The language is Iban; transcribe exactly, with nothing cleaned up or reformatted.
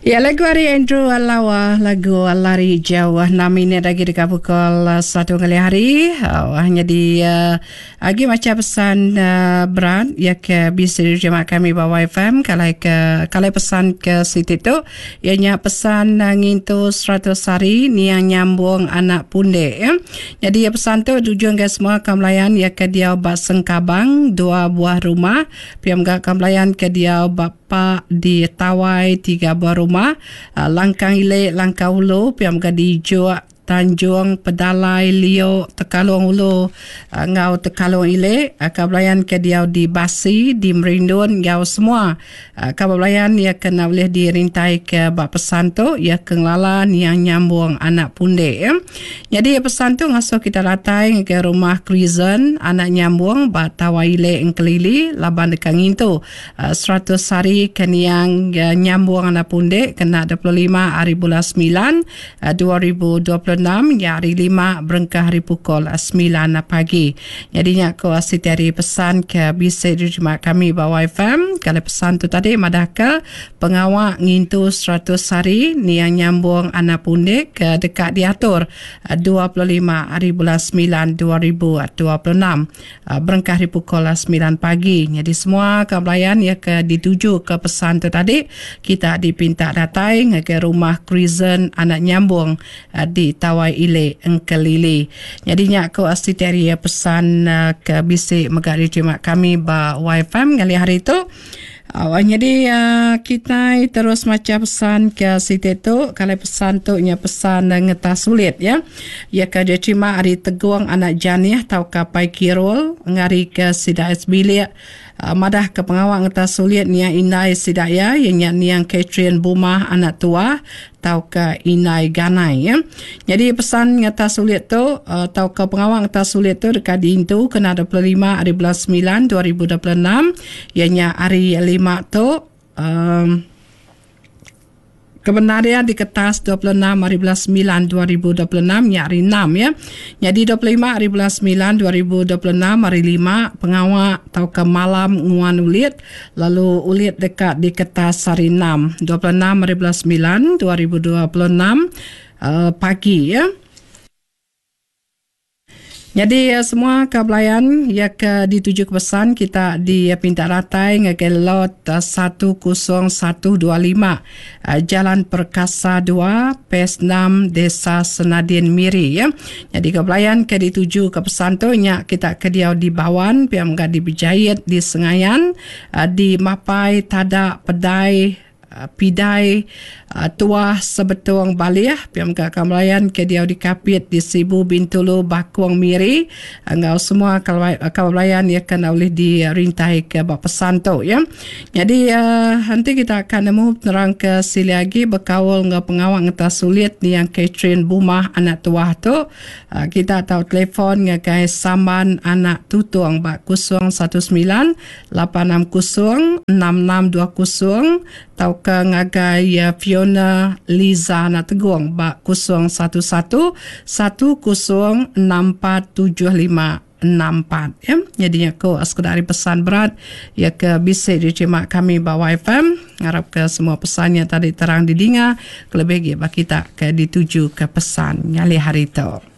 Ya lagu ari Andrew Lawa lagu Lari Jauh enam minit agi deka pukul satu ngalih hari uh, nyadi uh, agi macha pesan uh, berat ya ke bisi diterima kami ba Y F M kalai ke kalai pesan ke siti tu iya nya pesan uh, ngintu seratus hari niang nyambung anak pundek ya. Jadi pesan tu tuju ke semua kamlayan ya ke diau ba Sengkabang dua buah rumah pia mega kamlayan ke diau ba Pak di Tawai tiga buah rumah, Langkang Ile Langkau Ulu pia mega di Juk Tanjung Pedalai Lio Tekalong Ulu enggau Tekalong Ile, kabelayan ke diau di Basi di Merindun enggau semua kabelayan ia kena boleh dirintai ke ba pesan tu ia ke ngelala niang nyambung anak pundek ya. Jadi pesan tu ngasuh kita datai ke rumah Crescent anak nyambung ba Tawai Ile Engkelili laban deka ngintu seratus hari ke niang nyambung anak pundek kena dua puluh lima hari bulan sembilan dua ribu dua puluh enam ya hari lima berengkah hari pukul sembilan pagi. Jadi nya ko siti hari pesan ke bisa diterima kami ba Y F M. Kalau pesan tu tadi madah ke pengawak ngintu seratus hari niang nyambung anak pundek ke dekat diatur dua puluh lima hari bulan sembilan dua ribu dua puluh enam berengkah hari pukul sembilan pagi. Jadi semua kebelayan ya ke dituju ke pesan tu tadi kita dipinta datai ke rumah Crescent anak nyambung di Tawai Ile Engkelili. Jadi nya ko siti hari pesan ke bisi mega diterima kami ba Y F M kali hari tu. Uh, jadi uh, kita terus maca pesan ke siti tu. Kalau pesan tu nya pesan ngetah sulit ya. Ya ke diterima hari Teguang anak Janiah tau ka Pai Kirul ngari ke sida bilik uh, madah ke pengawak ngetah sulit nia indai sida ya nya niang Catherine Bumah anak tua tau ke Inai Ganai ya. Jadi pesan ngetah sulit tu uh, tau ke pengawak ngetah sulit tu dekat diintu kena dua puluh lima hari bulan sembilan dua ribu dua puluh enam ianya hari lima tu um, kebenaran di kertas dua puluh enam hari bulan sembilan dua ribu dua puluh enam nya hari enam ya. Jadi dua puluh lima hari bulan sembilan dua ribu dua puluh enam hari lima pengawak tau ke malam nguan ulit lalu ulit dekat di kertas hari enam dua puluh enam hari bulan sembilan dua ribu dua puluh enam uh, pagi ya. Jadi semua kebelayan ya ke dituju ke pesan kita di Pinta Ratai ngagai lot satu kosong satu dua lima Jalan Perkasa dua P S enam Desa Senadin Miri ya. Jadi kebelayan ke dituju ke pesan tu nya kita ke diau di Bawan, pia mega di Bejayit, di Sengayan, di Mapai, Tada, Pedai, Pidai, Tuah Sebetung Baliah, P M K Kamlayan ke diau di Kapit di Sibu Bintulu Bakung Miri enggau semua kamlayan ya kena oleh dirintai ke bak pesan tu ya. Jadi uh, nanti kita akan nemu penerang ke sili lagi berkaul enggau pengawak ngetah sulit ni yang Catherine Bumah anak tuah tu. Uh, kita tahu telefon ngagai Samban anak Tutung bak kosong satu sembilan lapan enam kosong enam enam dua kosong tau ke ngagai Fiona Liza anak Tegung bak kosong satu satu satu kosong enam empat tujuh lima enam empat ya. Jadi aku sekedar pesan berat ya ke bisa diterima kami ba Y F M. Ngarap ke semua pesannya tadi terang didengar kelebih lagi bagi kita ke dituju ke pesan ngalih hari tu.